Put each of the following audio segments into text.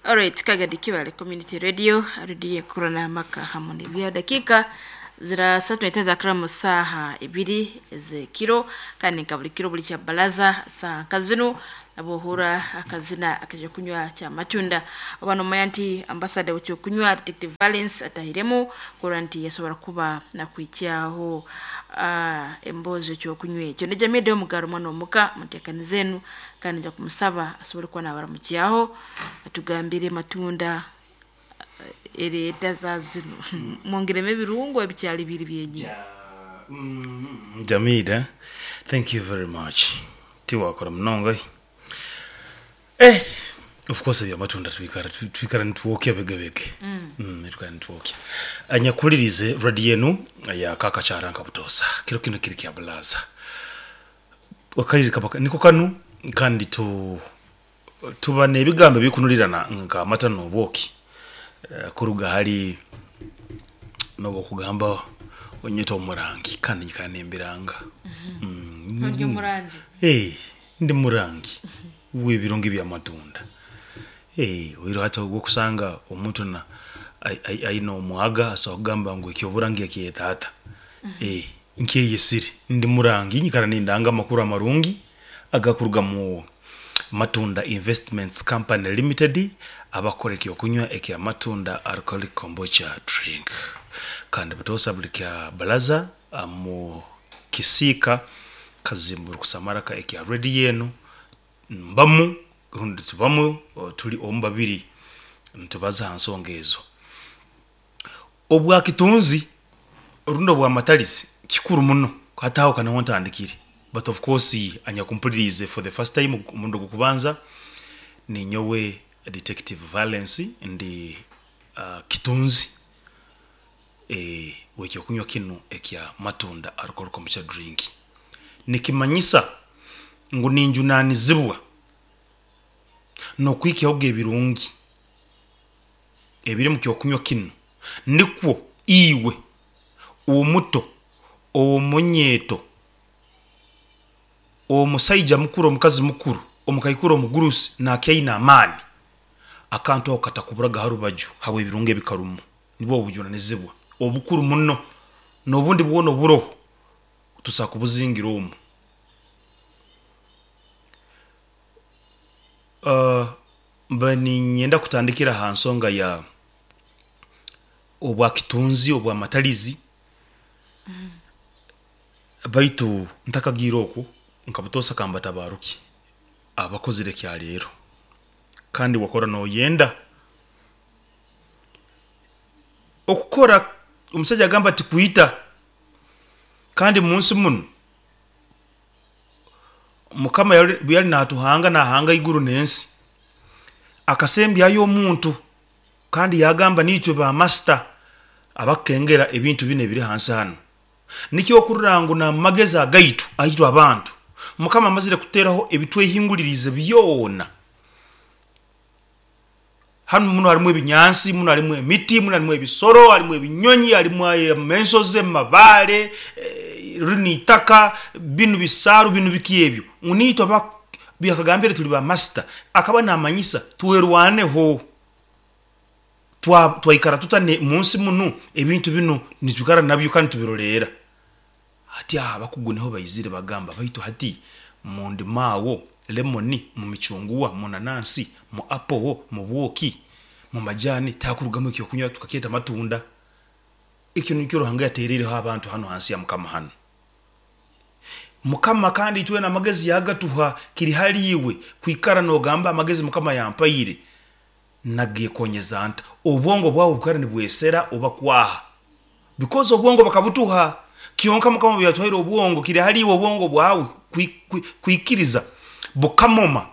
Alright, Kagadi Kibale Community Radio, radio kurana maka hamwe n'ebya dakika zira satu n'etaano zakira mu saaha ibiri ez'ekiro, kandi nka buli kiro buli kya balaza saa nka zinu abohura akazina akaja kunywa kya matunda. Oba nomanya nti ambasada w'ekyokunywa Detective Valence atahiremu kurora nti yasobora kuba nakwikyaho emboozi ekyokunywa ekyo. Nejamide omugaro mwana omuka muteekaniza enu, kandi nja kumusaba asobole kuba nabaramukyaho atugambire matunda ereeta za zinu mwongeremu ebirungo ebikyali biri byenyini. Jamida, thank you very much. Tiwakora munonga. Eh, of course ebyamatunda twikara twikara nitwokya begebege. Twikara nitwokya. Anyakulirize radio enu ya kaka kyaranka butosa. Kiro kino kiri kya bulaza. Wakaire kabaka niko kanu kandi tu tuba n'ebigambo ebikunulirana nka amata n'obwoki. Kuruga hali n'obwokugamba onyeta omurangi kandi nyikara nembiranga. Ori omurangi? Ndi murangi w'ebirungi by'amatunda. Oihireho hati obwokusanga omuntu na aine omwaga asobola kugamba ngu ekyoburangi akyeta ata. Nkyeyesire ndi murangi, nyikara nindanga amakuru amarungi agakuruga mu Matunda Investments Company Limited, abakora ekyokunywa ekya Matunda Alcoholic Kombucha Drink. Kandi butoosa buli kya balaza mu kisiika kazimburu kusamaraka ekya radio enu mbamu rundi tubamu tuli omu babiri nitubaza ha nsonga ezo. Obwakitunzi rundi obwamatalizi kikuru muno, hati aho kaniho ntandikire, but of course anyakumpuliriize for the first time omurundi ogw'okubanza, ninyowe Detective Valence, ndi kitunzi w'ekyokunywa kinu ekya Matunda Alcohol Kombucha Drink. Nikimanyisa ngu ninjunaanizibwa n'okwikyahoga ebirungi ebiri mu kyokunywa kinu, nikwo iwe omuto, omunyeeto, omusaija mukuru, omukazi mukuru, omukaikuru, omugurusi nakyaine amaani, akantu ako katakuburaga ha rubaju habw'ebirungi ebikarumu. Nibwo obujunanizibwa obukuru muno, n'obundi bwona oburoho tusobola kubuzingira omu. Mba niinyenda kutandikira ha nsonga ya obwakitunzi, obwamatalizi, baitu ntakagiire okwo, nka butoosa kambatabaarukye abakozire ekyaleero, kandi wakora nooyenda okukora, omusaija agamba ati kwita, kandi munsi munu Mukama obu yali naatuhanga naahanga iguru n'ensi, akasembyayo omuntu kandi yagamba niitwe ba masita abakukengera ebintu binu ebiri hansi hanu. Nikyo okurora ngu n'amagezi agaitu aitwe abantu, Mukama amazire kututeraho ebitwehinguliriize byona. Hanu muno harimu ebinyansi, muno harimu emiti, muno harimu ebisoro, harimu ebinyonyi, harimu ensozi, amabaare, rinu itaka, binu bisaaru, binu biki ebyo. Ngu naitwe yakagambire tuli ba masita, akaba namanyisa twerwaneho. Twaikara tuta munsi munu, ebintu binu nitwikara nabyo kandi tubiroleera. Hati aho abakugu niho baizire bagamba, baitu hati mu ndimaawo, lemoni, mu micunguwa, mu nanansi, mu apowo, mu bwoki, mu majani, tihakurugamu ekyokunywa tukakyeta matunda. Ekyo nikyo Ruhanga yateereireho abantu hanu hansi ya Mukama hanu. Mukama kandi itwena amagezi yagatuha, kiri hali iwe kwikara nogamba amagezi Mukama yampaire nagekonyeza nta? Obwongo bwawe bukara nibwesera oba kwaha? Because obwongo bakabutuha, kyonka Mukama obu yatuhaire obwongo, kiri hali iwe obwongo bwawe kwikiriza bukamoma,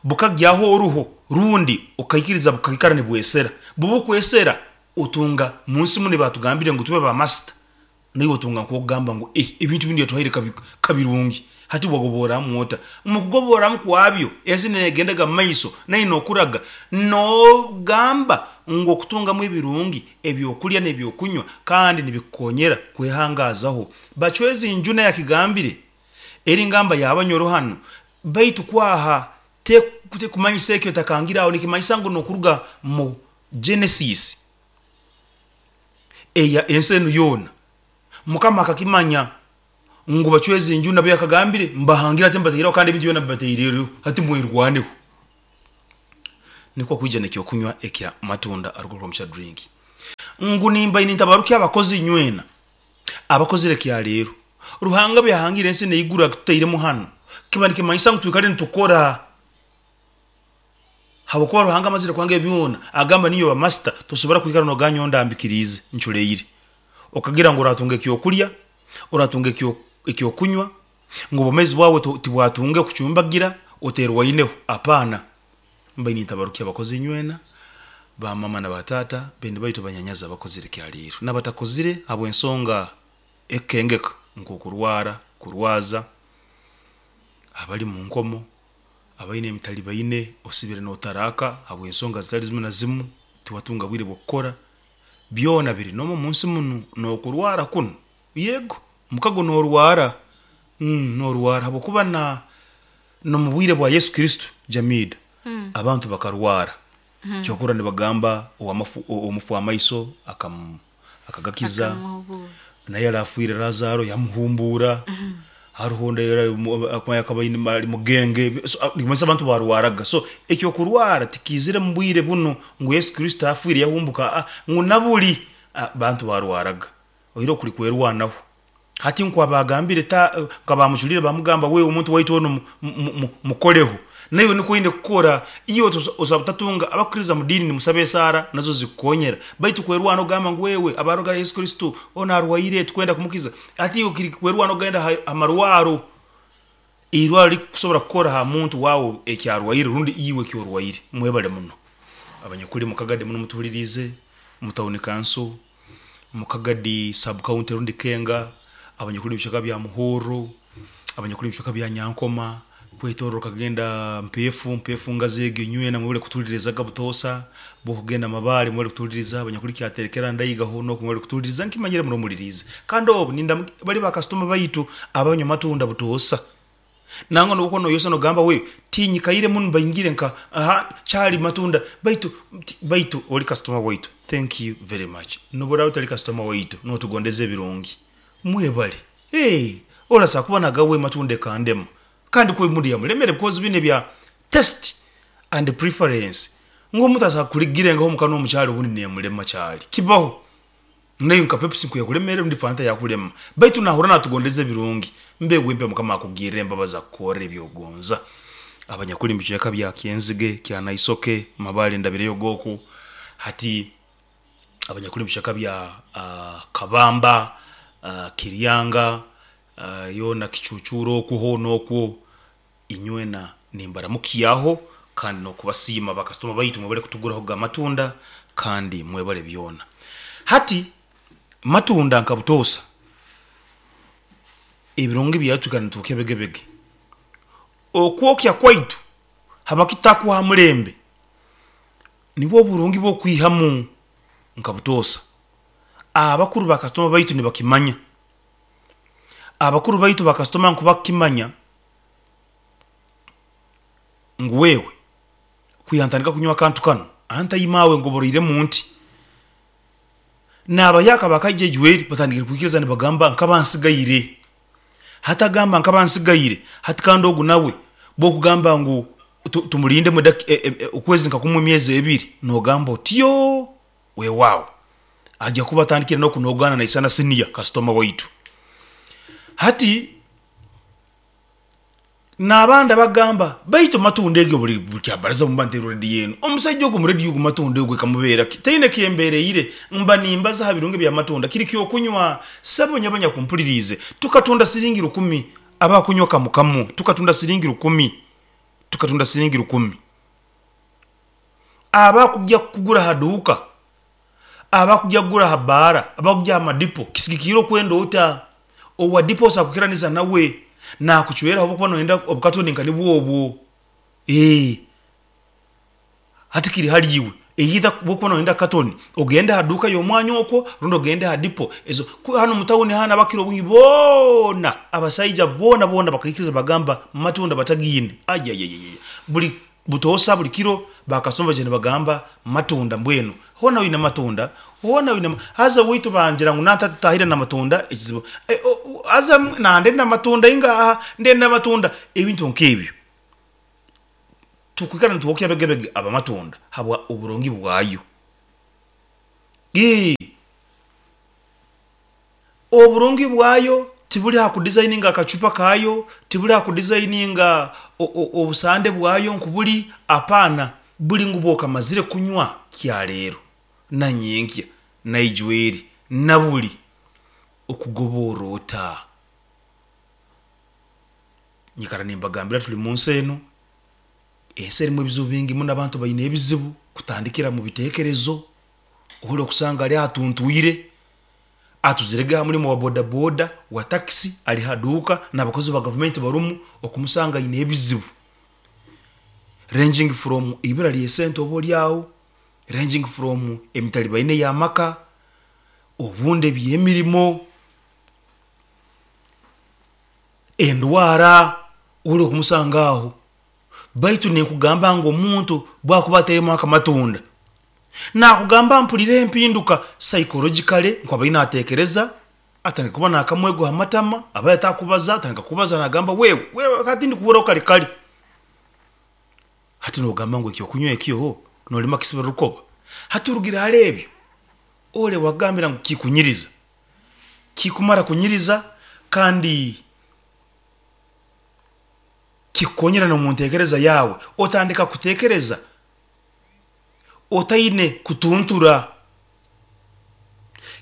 bukagyaho oruho, rundi okaikiriza bukaikara nibwesera. Bubukwesera, otunga munsi munu batugambire ngu tube ba masita, naiwe otunga nk'okugamba ngu ebintu binu yatuhaire kabirungi. Hati wagoboramu ota? Omu kugoboramu kwabyo, ensi negendaga mu maiso, nayo nokuraga, nogamba ngu okutungamu ebirungi, ebyokulya n'ebyokunywa, kandi nibikukonyera kwehangaazaho. Bacwezi Njuna yakigambire, eri ngamba y'abanyoro hanu, baitu kwaha. Kumanyisa ekyo takangira aho nikimanyisa ngu nokuruga mu Genesis eya ensi enu yoona Mukama akakimanya ngu bacweza enju nabo yakagambire mbahangire ati mbataireho kandi ebintu byona mbibataireho hati mwerwaneho. Nikwo kwija nekyokunywa ekya matunda aruga Rwomushana drink ngu nimba nintabarukya abakozi inywena abakozire ekyaleero. Ruhanga byahangire ensi neiguru akitutairemu hanu kiba nikimanyisa ngu twikale nitukora habwokuba Ruhanga amazire kuhanga ebi byona agamba niiwe ba master tosobora kwikara noganya ondambikiriize nculeire okagira ngu oratunga ekyokulya, oratunga ekyokunywa ngu obwomeezi bwawe tibwatunge kucumbagira oterwaineho apana. Mbaire nintabarukya abakozi inywena, ba mama na ba taata, beene baitu banyanyazi abakozire ekyaleero nabatakozire habw'ensonga ekukengeka nk'okurwara, kurwaza, abali mu nkomo, abaine emitalibaine osibire notaraaka habw'ensonga zitali zimu na zimu tiwatunga bwire bw'okukora, byona biri n'omu omunsi munu n'okurwara kunu, yego mukago norwara, norwara habwokuba na n'omu bwire bwa Yesu Kristo Jamida abantu bakarwara, kyokurora nibagamba omufu w'amaiso akagakiza, naye yali afiire Lazaro yamuhumbuura, haroho ondi akaba ali mugenge, so nikimanyisa abantu barwaraga. So ekyokurwara tikiizire mu bwire bunu ngu Yesu Kristo afiire yahumbuka, ngu nabuli abantu barwaraga oihireho kuli kwerwanaho. Hati nko abagambire nka bamuculire bamugamba wewe omuntu waitu onu mukoleho, naiwe nikwo oine kukora. Iwe osobola kutatunga abakukiriza mu diini nimusaba esaara nazo zikukonyera, baitu kwerwana ogamba ngu wewe abaroga Yesu Kristo onu arwaire tukwenda kumukiza, hati iwe kiri kwerwana ogenda ha marwaro, irwaro likusobora kukora ha muntu wawe eki arwaire rundi iwe eki orwaire. Mwebale muno abanyakuli mukagadi muno mutuhuliriize mu tawuni kanso, Mukagadi sub county rundi Kenga, abanyakuli omu bicweka bya Muhorro, abanyakuli omu bicweka bya Nyankoma, kwetoroora okagenda Mpeefu, Mpeefu ngazi egi inywena mwebale kutuhulirizaga butoosa, bwokugenda Mabaale mwebale kutuhuliriza, abanyakuli Kyaterekera Ndaiga hoona oku mwebale kutuhuliriza nkimanyire muno muliriize. Kandi obu ninda bali ba kasitoma baitu abanywa matunda butoosa. Nangwa nobu okuba noyosa nogamba we tinyikaire muno baingire nka aha kyali matunda baitu baitu oli kasitoma waitu thank you very much. Nobu oraaba otali kasitoma waitu notugondeza ebirungi. Mwebale eeh orasa kuba nagawe matunda ekandema kandi kwe muri yamulemere because binu ebya taste and preference ngu omuntu asobola kuligirengaho omukanwa omukyali obundi nemulema kyali kibaho. Naiwe nka Pepsi nkuyakulemere rundi Fanta yakulema. Baitu nahurra natugondeza ebirungi. Mbe wempe Mukama akugirre embabazi akukorre ebyogonza. Abanyakuli mubicweka bya Kyenzige, Kyanaisoke, Mabale ndabireyo oku. Hati abanyakuli mubicweka bya Kabamba, Kiryanga, yoona Kicucuura okwo hoona okwo, inywena nimbaramukyaho kandi n'okubasiima bakasitoma baitu mwebale kutugurahoga amatunda kandi mwebale byona. Hati matunda nka butoosa ebirungi byayo twikara nitwokya begebege. Okwokya kwaitu habwaki tutakuha ha mulembe nibwo oburungi bw'okwihamu nka butoosa. Abakuru bakasitoma baitu nibakimanya. Abakuru baitu bakasitoma nku bakukimanya ngu wewe kwiha ntandika kunywa akantu kanu antaima awe ngoboroiremu nti. Nabayaka bakaija ejweri batandikire kwikiriza nibagamba nkaba nsigaire. Hati agamba nkaba nsigaire hati kandi ogu nawe bwokugamba ngu tumulindemu okwezi nka kumwe emyezi ebiri nogamba otyo wewawo aja kuba atandikire nokunogana naisana senior kasitoma waitu. Hati N'abandi abagamba, Baitu matunda egi buli kyabaraza mba ntairwe rediyo enu. Omusaija ogu omu rediyo ogu matunda ogu ekamubeera ki? Taine kyembereire. Mba nimbaza ha birungi by'amatunda. Kiri ky'okunywa. Sebo nyowe abanyakumpuliriize, tukatunda siringi rukumi abakunywa kamu kamu. Tukatunda siringi rukumi. Tukatunda siringi rukumi. Abakugya kugura ha duuka, abakugya kugura ha bbaara, abakugya ha madipo, kisigikiire okwenda ota. Owa dipo osobola kukiraniza nawe nakucwera habwokuba noyenda obukatoni nka nibwo obwo. Eeh hati kiri hali iwe either bwokuba noyenda katoni ogende ha duuka y'omwanya okwo rundi ogende ha dipo ezo. Hanu omu tawuni hanu abakira obwingi boona abasaija boona boona bakaikiriza bagamba matunda batagiine ayayayaya buli. Butoosa buli kiro bakasoma baija nibagamba matunda mbwenu hoona oine amatunda hoona oine haza owaitu bangira ngu natatahire n'amatunda ekizibu haza nandenda amatunda ingaha ndenda amatunda ebintu nk'ebyo. Tukwikara nitwokya begebege abamatunda habwa oburungi bwayo. Ii. Oburungi bwayo tibuli ha kudizayininga akacupa kaayo, tibuli ha kudizayininga obusande bwayo nkubuli, apaana, buli ngu bw'okamazire kunywa kyaleero, na nyenkya, na ijweri, na buli, okugoborra ota? Nyikara nimbagambira tuli munsi enu, ensi erimu ebizibu bingi muno, abantu baine ebizibu kutandikira mu biteekerezo, ori okusanga ali atuntwire, atuzirege ha mulimo wa boda boda, wa takisi, ali ha duuka, n'abakozi ba gavumenti barumu, okumusanga aine ebizibu ranging from ibura ly'esente oba oli aho, ranging from emitalibaine y'amaka, obundi eby'emirimo, endwara, ori okumusanga aho. Baitu ninkugamba ngu omuntu bwakuba atairemu akamatunda, nakugamba mpurira empinduka psychologically ngu abaire natekereza, atandika kuba nakamwego ha matama, abaire atakubaza atandika kubaza nagamba wewe, wewe hati ndikuhurraho kare kare. Hati nogamba ngu ekyokunywa ekyo nolema kisibira rukoba? Hati orugire hali ebyo, ole wakugambira ngu kikunyiriza, kikumara kunyiriza kandi kikukonyera n'omu ntekereza yaawe, otandika kutekereza otaine kutuntura.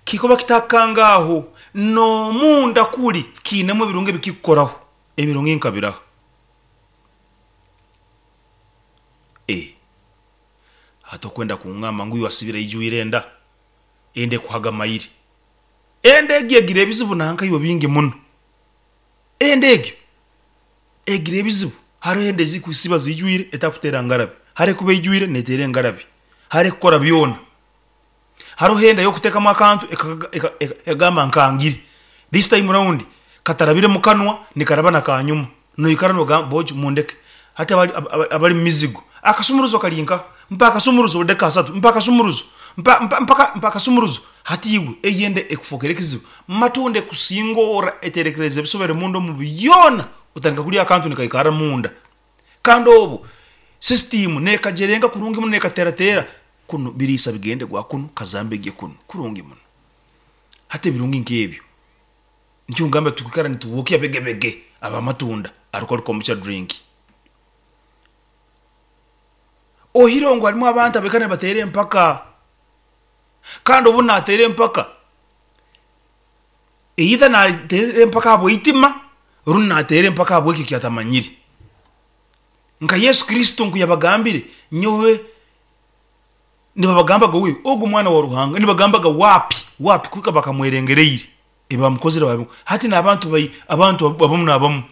Kikuba kitakukanga aho, n'omunda kuli kiinemu ebirungi ebikikukoraho, ebirungi nkabiraha. Eh, hati okwenda kungamba ngu iwe wasibire aijwire enda, enda ekuhaga mairi. Enda egyo egira ebizibu nanka iwe bingi muno. Enda egyo egira ebizibu, haroho enda ezikusiba zijwire etakutera ngarabi, haro ekuba eijwire neteera engarabi, haro ekukora byona. Haroho enda eyokutekamu akantu ekagamba nkangire, this time round katarabire mukanwa nikaraba nakanyuma, noikara nogamba bojo mundeke. Hati abali mumizigo, akasumuruzo kali nkaha? Mpa akasumuruzo buli dakika asatu, mpa akasumuruzo, mpa mpa mpa akasumuruzo. Hati iwe eyo enda ekufokere ekizibu. Matunda ekusingorra eterekereza ebisobere munda omu byona, otandika kulya akantu nikaikarra munda. Kandi obu sisitimu nekajerenga kurungi muno nekateratera kunu biriisa bigende gwa kunu kazambi egye kunu kurungi muno. Hati ebirungi nk'ebyo nikyo nkugamba tukwikara nitwokya begebege abamatunda alcohol kombucha drink. Ohireho ngu harimu abantu abaikara nibateera empaka kandi obu nateera empaka either nateera empaka habw'eitima rundi nateera empaka habw'ekyo eki atamanyire. Nka Yesu Kristo nku yabagambire, nyowe nibabagambaga we ogu mwana wa Ruhanga, nibagambaga wapi wapi kuhika bakamwerengereire ebi bamukozire babi. Hati n'abantu bai abantu abamu n'abamu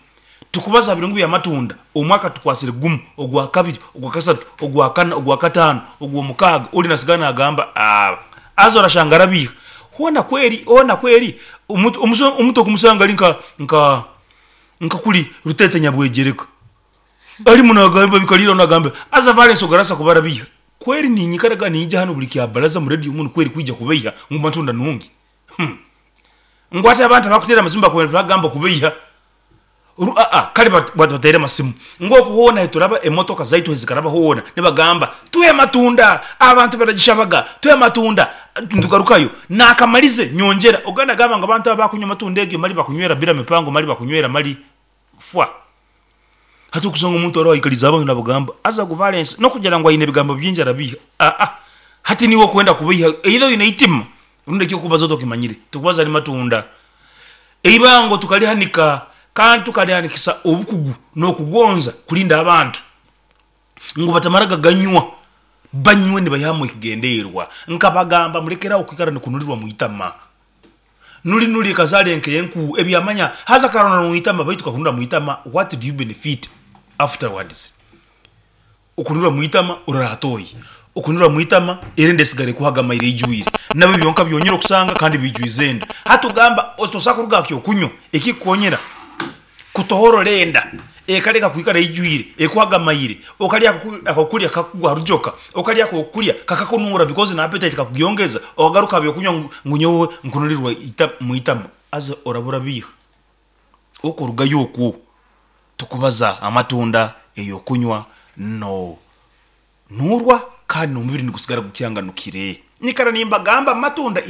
tukubaza ha birungi by'amatunda, omwaka tukwasire gumu, ogwakabiri, ogwakasatu, ogwakana, ogwakataano, ogw'omukaaga, ori nasigara nagamba aah haza orashanga arabiiha. Hoona kweri, hoona kweri omuntu omuntu okumusanga ari nka nka nka kuri Rutete Nyabwegyereka arimu nagamba bikarira nagamba haza Valens ogarasa kuba arabiiha. Kweri ninyikaraga ninyija hanu buri kyabaraza omu radio munu kweri kwija kubeiha ngu matunda nungi? Hum. Ngu hati abantu abakuteera amasimu bakuba nibagamba kubeiha. Aa kare bateere amasimu ngu oku hoona ahi turaba emotoka zaitu ahi zikaraba hoona nibagamba tuhe amatunda abantu baragishabaga tuhe amatunda nitugarukayo nakamarize nyongyera ogwo nagamba ngu abantu abakunywa amatunda egyo mali bakunywera bira mipango mali bakunywera mali fwa. Hati okusanga omuntu aroho aikalize abantu nabagamba haza ogu Valens nokugira ngu aine ebigambo bingi arabiiha aa hati niiwe okwenda kubeiha either oine eitima rundi ekyokubaza tokimanyire tukubaza ari matunda. Eibango tukalihanika kandi tukalihanikisa obukugu n'okugonza kulinda abantu ngu batamara gaganywa, banywe nibaihamu ekigendererwa. Nkabagamba mulekere aho kwikara nikunulirwa mwitama. Nuli nuli ekazara enkenku ebyamanya haza karona mwitama baitu kakunura mwitama what do you benefit afterwards? Okunura mwitama orara hatoyi, okunura mwitama era enda esigara ekuhaga amaire eijwire, nabyo byonka byonyire okusanga kandi biijwize enda. Hati ogamba tosobola kuruga aha kyokunywa ekikukonyera kutohorora enda. Ekaleka kwikara ijwire, ekwagamaire. Okalya akokulya kakugwa rujoka, okalya akokulya kakakunura because na appetite kakugyongeza, okagaruka habyokunywa ngu nyowe nkunulirwa mwitama, haza oraba orabiiha. Okurugayo okwo, tukubaza amatunda, eyokunywa no nurwa kandi n'omubiri nigusigara gukyanganukire. Nyikara nimbagamba amatunda is